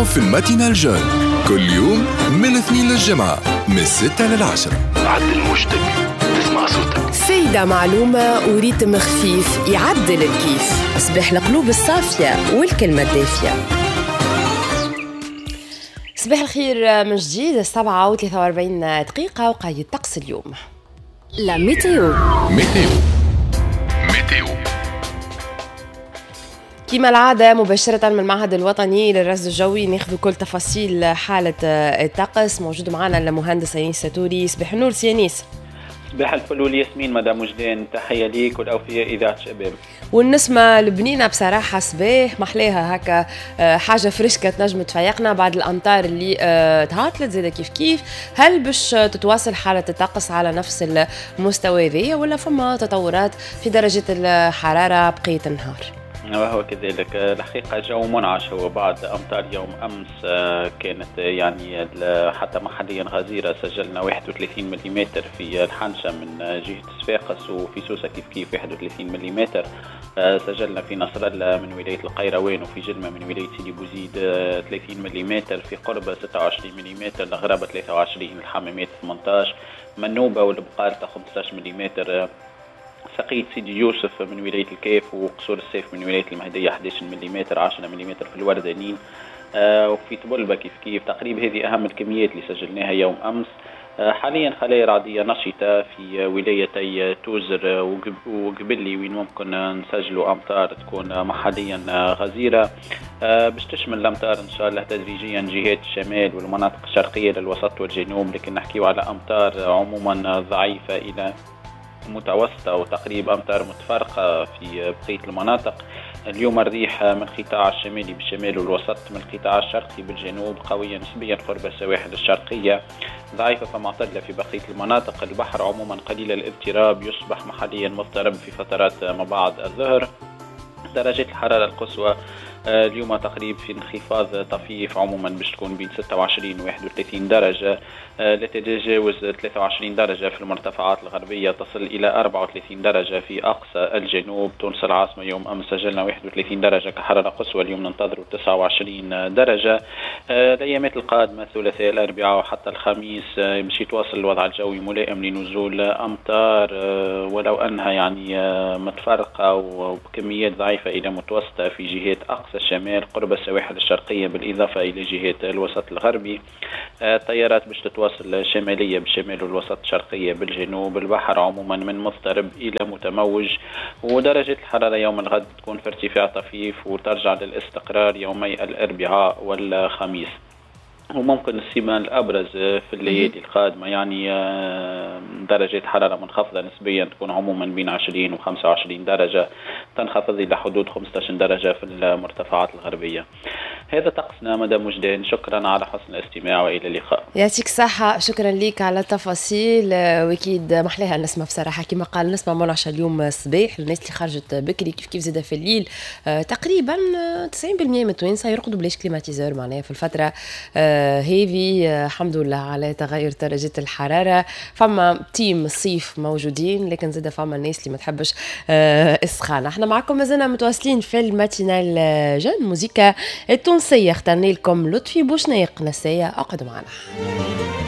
تسمعوا في ال matinale jeune كل يوم من الاثنين للجمعة من 6 لل10. عدل موجتك تسمع صوتك. فايدة، معلومة و rythme خفيف يعدل الكيف. صباح القلوب الصافية والكلمة الدافية. صباح الخير من جديد، 7:43 دقيقة، وقايد طقس اليوم. la météo. météo météo. كما العادة، مباشرة من المعهد الوطني للرصد الجوي ناخذ كل تفاصيل حالة الطقس. موجود معنا المهندس أنيس ساتوري. صباح النور سي أنيس. صباح الفل والياسمين مدام وجدان، تحية ليك والأوفياء إذاعة شباب. والنسمة البنينة بصراحة، صباح محلاها هكا، حاجة فريشكة تنجم تفيقنا بعد الأمطار اللي تهاطلت زادة كيف كيف. هل باش تتواصل حالة الطقس على نفس المستوى ذي ولا فما تطورات في درجة الحرارة بقية النهار؟ وهو كذلك، الحقيقة جو منعش هو بعد أمطار يوم أمس، كانت يعني حتى محليا غزيرة. سجلنا 31 ملم في الحنشة من جهة صفاقس، وفي سوسة كيف كيف 31 ملم. سجلنا في نصر الله من ولاية القيروان وفي جلمة من ولاية سيدي بوزيد 30 ملم، في قربة 26 ملم، الغرابة 23، الحمامات 18، منوبة والبقالة 15 ملم، ساقية سيدي يوسف من ولاية الكاف وقصور الساف من ولاية المهدية 11 ملم، 10 ملم في الوردانين، وفي طبلبة كيف كيف. تقريبا هذه أهم الكميات اللي سجلناها يوم أمس. حاليا خلايا رعدية نشطة في ولايتي توزر وقبلي، وين ممكن نسجلوا أمطار تكون محليا غزيرة. باش تشمل الأمطار إن شاء الله تدريجيا جهات الشمال والمناطق الشرقية للوسط والجنوب، لكن نحكيو على أمطار عموما ضعيفة إلى متوسطة وتقريبا أمطار متفرقة في بقية المناطق. اليوم الريح من القطاع الشمالي بالشمال والوسط، من القطاع الشرقي بالجنوب، قوية نسبيا قرب السواحل الشرقية، ضعيفة فمعتدلة في بقية المناطق. البحر عموما قليل الاضطراب، يصبح محليا مضطرب في فترات ما بعد الظهر. درجات الحرارة القصوى اليوم تقريب في انخفاض طفيف، عموما باش تكون بين 26 و 31 درجة، لا تتجاوز 23 درجة في المرتفعات الغربية، تصل إلى 34 درجة في أقصى الجنوب. تونس العاصمة يوم أمس سجلنا 31 درجة كحرارة قصوى، اليوم ننتظر 29 درجة. الأيامات القادمة، الثلاثاء، الأربعاء وحتى الخميس، باش يتواصل الوضع الجوي ملائم لنزول أمطار، ولو أنها يعني متفرقة وبكميات ضعيفة إلى متوسطة في جهات أقصى الشمال قرب السواحل الشرقية، بالإضافة إلى جهات الوسط الغربي. التيارات باش تتواصل شمالية بالشمال والوسط، شرقية بالجنوب. البحر عموما من مضطرب إلى متموج، ودرجة الحرارة يوم الغد تكون في ارتفاع طفيف وترجع للاستقرار يومي الأربعاء والخميس. وممكن السمة الأبرز في الليالي القادمة يعني درجة حرارة منخفضة نسبيا، تكون عموما بين 20 و 25 درجة، تنخفض إلى حدود 15 درجة في المرتفعات الغربية. هذا طقسنا مدام وجدان، شكرا على حسن الاستماع والى اللقاء. يعطيك الصحة، شكرا لك على التفاصيل. واكيد محلاها النسمة بصراحة، كما قال نسمة منعشة اليوم الصباح، الناس اللي خرجت بكري كيف كيف زادة في الليل. تقريبا 90% من التوانسة يرقدوا بلاش climatiseur معناها في الفترة هذه. الحمد لله على تغير درجة الحرارة. فما team الصيف موجودين، لكن زاد فما الناس اللي ما تحبش السخانة. احنا معكم مازلنا متواصلين في ال matinale jeune. موزيكا التونسية، اخترنا لكم لطفي بوشناق، نسايا. اقعدوا معنا.